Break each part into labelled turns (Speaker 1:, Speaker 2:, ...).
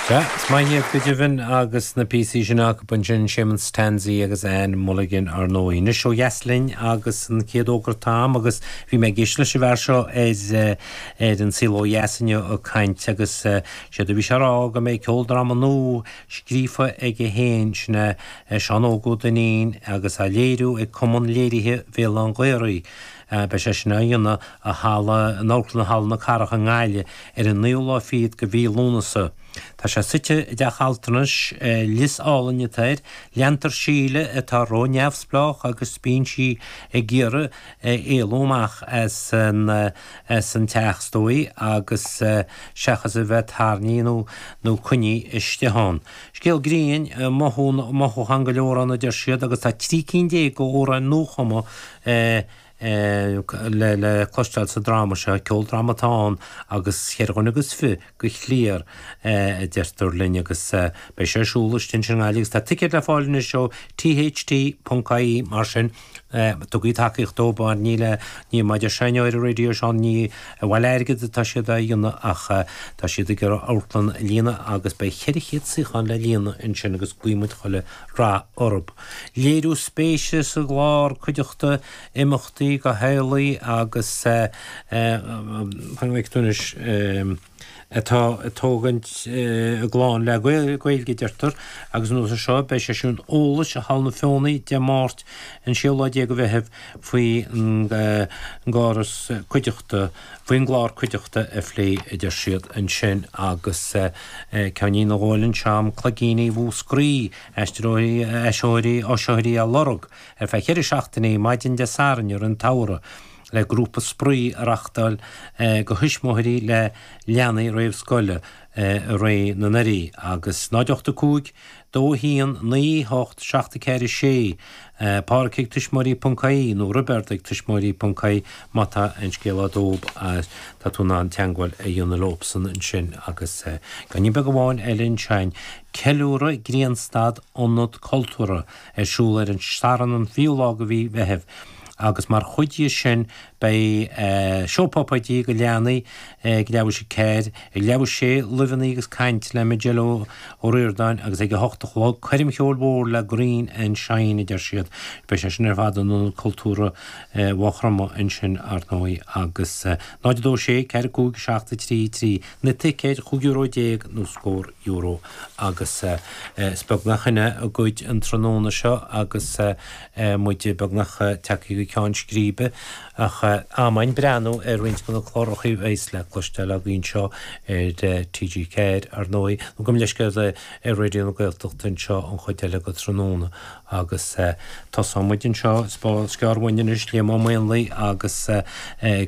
Speaker 1: Sea, is maith iad go deimhin agus na píosaí sin acu ansin, Séamus Tansey agus Anne Mulligan ar ndóigh. Anois ó dheas linn agus an chéad fhógra atá agam agus bhí mé ag éisteacht leis an bhfear seo ar ar An Saol Ó Dheas inniu ag caint agus séard a bhí sé a rá go mbeidh ceoldráma nua scríofa aige féin, sin é Seán Óg Ó Duinnín agus á léiriú ag Cumann Léirithe Bhéal Átha an Ghaorthaidh. Beidh sé sin á dhéanamh i halla, in Amharclann Halla na Cathrach i nGaillimh ar an naoú lá fichead de mhí Lúnasa. Tá sé suite i dteach altranais, lios álainn atá air. Leantar Síle atá ró-neamhspleách agus bíonn sí ag iarraidh éalú amach as an as an teach is dóigh agus seachas a bheith tarraingthe nó nó coinnithe istigh ann. Scéal grinn, mothúchán go leor ann a deir siad agus tá 13 cinn d'amhráin nuachumtha le cloisteáil sa dráma seo. Ceoldráma atá ann agus cheithre dhuine agus fiche go chliar, a deirtear linn, agus beidh sé ar siúl istigh ansin i nGaillimh agus tá ticéid le fáil anois ó tht.ie mar sin tugaigí tacaíocht dóibh mar ní le, ní mar a deir seinnteoir ar an raidió Seán, ní ag bailiú airgid atá siad á dhéanamh ach tá siad ag iarraidh amharclann a líonadh agus beidh 400 suíochán le líonadh ansin agus guímid chuile rath orthu. Léiriú spéise sa gclár cuideachta, imeachtaí do theaghlaigh agus fan go bhfeicfidh tú anois, atá ag tógaint a gclann le Gaeilge, a deirtear, agus anuas air seo beidh seisiún eolais i Halla na Feothanaí Dé Máirt an séú lá déag de Mheitheamh faoi gcóras cuideachta, faoin gclár cuideachta a phlé, a deir siad ansin agus ceainnín a dhóil anseo agam, Cloigíní Mhúscraí. Aisteoirí, áisitheoirí á lorg ar feadh cheithre seachtainí, maidin Dé Sathairn i rith an tsamhraidh, le grúpa spraoi a reachtáil do thuismitheoirí le leanaí réamhscoile i rith na nDoirí agus 0 8 5 2 1 9 8 7 4 6, Páraic ag tuismitheoirí ponc ie nó Roibeard ag tuismitheoirí ponc ie má tá aon scéala dóib tá tú in ann teangmháil a dhéanamh leobsan ansin agus ceainnín beag amháin eile ansin. Ceiliúradh Grianstad Ionad Cultúrtha ar siúl ar an Satharn an 20ú lá de mhí Mheithimh agus mar chuid dhe sin beidh seó puipéidí do leanaí ag leathuair tar éis a ceathair, ag leathuair tar éis a sé luibheanna agus caint le Majella Ó Ríordáin agus ag a hocht a chlog coirm cheoil mhór le Green and Shine a deir siad. Beidh sé sin ar fad in Ionad Cultúrtha Mhaigh Chromtha ansin ar ndóigh agus 0 2 6 4 5 7 3 3 Na ticéid, 15 euro nó scór euro agus is beagnach sin é a gcuid an tráthnóna seo agus muid beagnach tagtha go ceann scríbe ach am againn breathnú ar roinnt de na cláracha a bheas le cloisteáil againn anseo ar TG4 ar ndóigh, nó gabh mo leithscéal ar Raidió na Gaeltachta anseo an chuid eile go tráthnóna. Agus tosóidh muid anseo, is gearr uainn anois, Liam Ó Maonlaí agus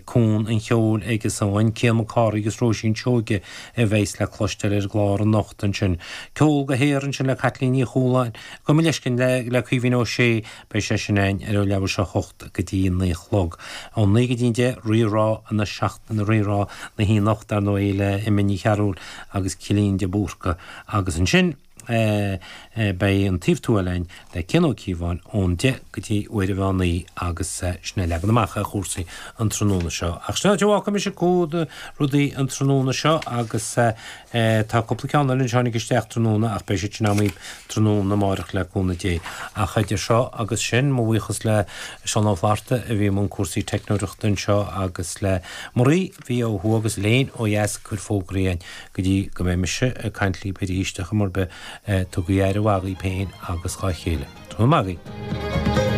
Speaker 1: Cuan an Cheoil aige san, Cian Mac Cárthaigh agus Róisín Seoige a bheas le cloisteáil ar an gclár anocht ansin. Ceol go haer ansin le Caitlín Ní Chualáin, gabh mo leithscéal, le Caoimhín Ó Sé, beidh sé sin againn ar leathuair tar éis a hocht go dtí a naoi a chlog. Ón naoi go dtí an deich, Rí-Rá na seachtaine, Rí-Rá na hoíche anocht, dar ndóigh, le Emma Ní Chearúil agus Cillín de Búrca. Agus ansin. Beidh an Taobh Tuathail againn le Cian Ó Cíobháin ón 10 go dtí uair an mheán oíche agus sin é leagan amach ar chúrsaí an tráthnóna seo. Ach sin áit a bhfágfaidh mise cúd rudaí an tráthnóna seo agus tá cúpla ceann eile anseo tháinig isteach tráthnóna ach beidh siad sin agam tráthnóna amárach le cúnamh Dé. Ach idir seo agus sin, mo bhuíochas le Seán Ó Flatharta a bhí i mbun cúrsaí teicneoireachta anseo agus le Marie a bhí ó thuaidh agus Elaine ó dheas ag cur fógraí againn. Go dtí go mbeidh mise ag caint libh arís, ar chuma ar bith, tugaigí aire mhaith dhaoibh féin agus dhá chéile. Tráthnóna maith agaibh.